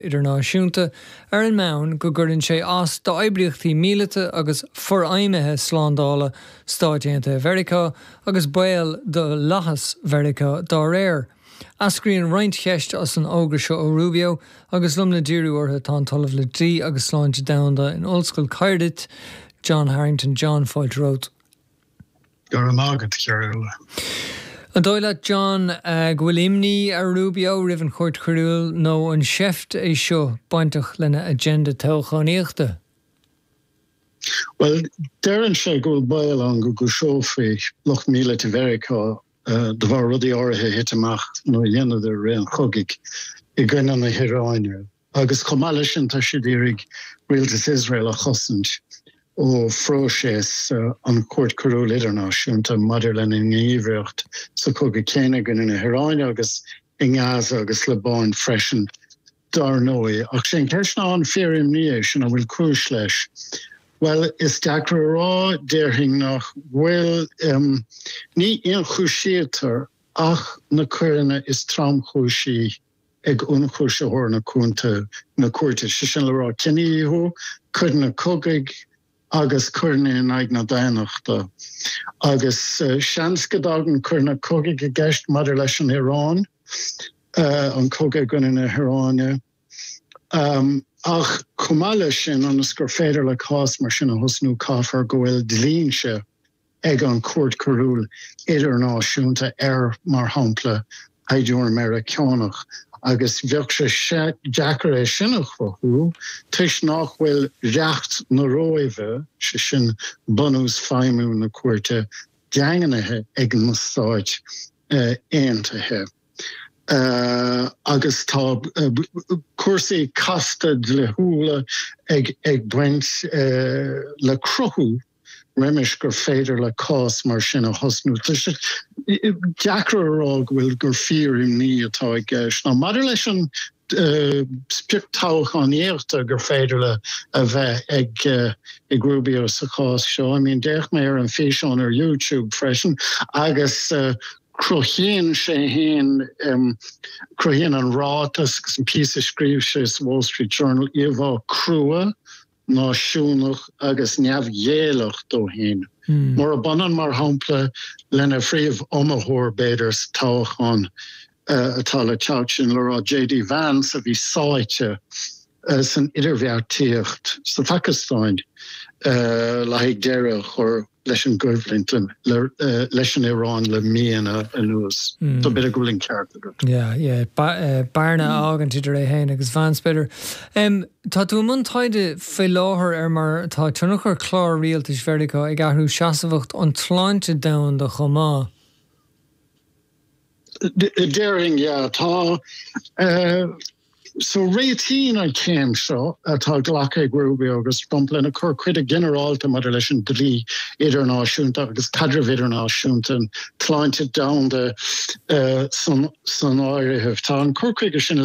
Idirnáisiúnta ar an mbonn go gcuireann sé as d'oibríochtaí míleata agus forfheidhmithe slándála Stáit Aontaithe Mheiriceá agus baol do fhlaitheas Mheiriceá dá réir. Eascraíonn roinnt cheist as an fhógra seo ó Rubio agus liom le díriú orthu tá an tOllamh le Dlí agus Sláinte Domhanda in Ollscoil Caerdydd, John Harrington. John, fáilte romhat. Go raibh maith agat, a Chearbhaill. An dóigh leat, John, go bhfuil imní ar Rubio roimh an Chúirt Choiriúil nó an seift é seo bainteach lena agenda toghchánaíochta? Bhuel, deireann sé go bhfuil baol ann go gcúiseofaí lucht míleata Mheiriceá de bharr rudaí áirithe a thit amach nó a dheineadar i rith an chogaidh i gcoinne na hIaráine. Agus chomh maith leis sin tá siad ag iarraidh rialtas Iosrael a chosaint ó phróiseas an Chúirt Choiriúil Idirnáisiúnta maidir lena ngníomhaíocht sa chogadh céanna i gcoinne na hIaráine agus i nGaza agus Liobáin freisin, dar ndóigh. Ach sé an cheist ná an fíor-imní é sin, an bhfuil cúis leis? Bhuel, is deacair a rá, déarfainn nach bhfuil. Ní ionchúisítear ach na coireanna is tromchúisí ag ionchúisitheoir na cúnta na cúirte, sé sin le rá cinedhíothú, coireanna cogaidh agus coireanna in aghaidh na daonnachta. Agus seans go dtagann coireanna cogaidh i gceist maidir leis an Iaráin, an cogadh i gcoinne na hIaráine. Ach chomh maith leis sin, ionas gur féidir le cás mar sin a thosnú, caithfear go bhfuil dlínse ag an Chúirt Choiriúil Idirnáisiúnta ar, mar shampla, shaighdiúir Meiriceánach, agus bheadh sé deacair é sin a chruthú toisc nach bhfuil Reacht na Róimhe, sé sin bunús feidhmiú na cúirte, daingnithe ag na Stáit Aontaithe. Agus tá cúrsaí casta dlíthiúla ag baint le cruthú roimis gur féidir le cás mar sin a thosnú. Tá sé deacair a rá go bhfuil gur fíor-imní atá i gceist. Now maidir leis an sprioc toghchánaíochta gur féidir le a bheith ag ag Rubio sa chás seo, I mean d'fhéach mé ar an físeán ar YouTube freisin agus cruthaíonn sé fhéin, cruthaíonn an ráiteas agus an píosa a scríobh sé sa Wall Street Journal íomhá crua náisiúnach agus neamhghéilleach dó féin. Murab ionann, mar shampla, lena phríomh-iomaitheoir, b'fhéidir, sa toghchán atá le teacht, sin le rá JD Vance, a bhí sáite san idirbheartaíocht sa Phacastáin le haghaidh deireadh a chur leis an gcoimhlint leis an Iaráin le míonna anuas. So b'fhéidir go bhfuil an ceart agat. Yeah, yeah. Bearna a fhágaint idir é féin agus Vance, b'fhéidir. Tá tú i mbun taighde faoi láthair ar mar atá tionchar chlár rialtais Mheiriceá ag athrú seasmhacht an tsláinte domhanda chomh maith. Déarfainn, yeah. Tá. So réitíonn an chéim seo atá glactha ag Rubio agus Trump lena cur chuige ginearálta maidir leis an dlí idirnáisiúnta agus caidreamh idirnáisiúnta, an tsláinte domhanda san áireamh. Tá an cur chuige sin le.